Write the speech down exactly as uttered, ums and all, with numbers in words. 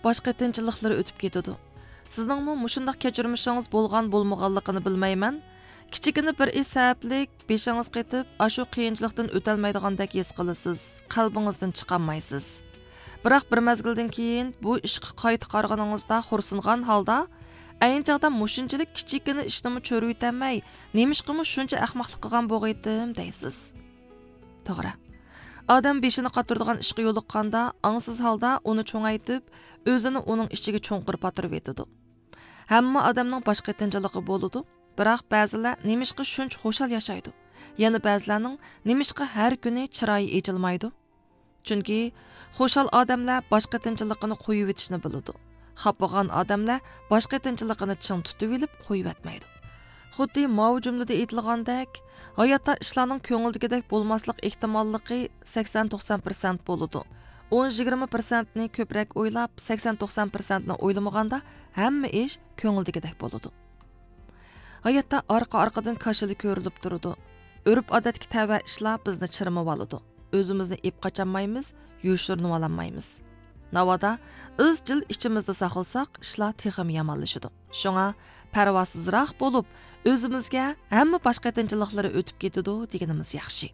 باش قېتىنچىلىقلىرى ئۆتۈپ كېتىدۇ. سىزنىڭمۇ مۇشۇنداق كەچۈرمىشىڭىز بولغان بولمىغانلىقىنى بىلمەيمەن. كىچىككىنە بىر ئىش سەۋەبلىك بېشىڭىز قېتىپ، ئاشۇ قىيىنچىلىقتىن ئۆتەلمەيدىغاندەك ھېس قىلىسىز، قەلبىڭىزدىن چىقالمايسىز. بىراق بىر مەزگىلدىن كېيىن بۇ ئىشقا قايتا قارىغىنىڭىزدا خورسۇنغان ھالدا، ئەينى چاغدا مۇشۇنچىلىك كىچىككىنە ئىشنىمۇ چۆرۈۋېتەلمەي، نېمىشقىمۇ شۇنچە ئەخمەقلىق قىلغان بوغىيتتىم دەيسىز. توغرا. ئادەم بېشىنى قاتۇرىدىغان ئىشقا يولۇققاندا، ئاڭسىز ھالدا ئۇنى چوڭايتىپ، ئۆزىنى ئۇنىڭ ئىچىگە چوڭقۇر پاتۇرۇۋېتىدۇ. ھەممە ئادەمنىڭ باش قېتىنچىلىقى بولىدۇ، بىراق بەزىلەر نېمىشقا شۇنچە خۇشال ياشايدۇ؟ يەنە بەزىلەرنىڭ نېمىشقا ھەر كۈنى چىرايى ئېچىلمايدۇ؟ چۈنكى خۇشال ئادەملەر باش قېتىنچىلىقىنى قويۇۋېتىشنى بىلىدۇ. خاپىغان ئادەملەر باش قېتىنچىلىقىنى چىڭ تۇتۇۋېلىپ قويۇۋەتمەيدۇ. خۇددى ماۋۇ جۈملىدە ئېيتىلغاندەك، ھاياتتا ئىشلارنىڭ كۆڭۈلدىكىدەك بولماسلىق ئېھتىماللىقى سەكسەن توقسان پىرسەنت بولىدۇ. ئون يىگىرمە پىرسەنتنى كۆپرەك ئويلاپ، سەكسەن توقسان پىرسەنتنى ئويلىمىغاندا ھەممە ئىش كۆڭۈلدىكىدەك بولىدۇ. ھاياتتا ئارقا-ئارقىدىن كاشىلا كۆرۈلۈپ تۇرىدۇ. ئۆرپ-ئادەتكە تەۋە ئىشلار بىزنى چىرمىۋالىدۇ. ئۆزىمىزنى ئېپ قاچالمايمىز، يوشۇرۇنۇۋالالمايمىز. ناۋادا ئىزچىل ئىچىمىزدە ساقلىساق، ئىشلار تېخىمۇ يامانلىشىدۇ. شۇڭا پەرۋاسىزراق بولۇپ، ئۆزىمىزگە ھەممە باش قېتىنچىلىقلىرى ئۆتۈپ كېتىدۇ دېگىنىمىز ياخشى.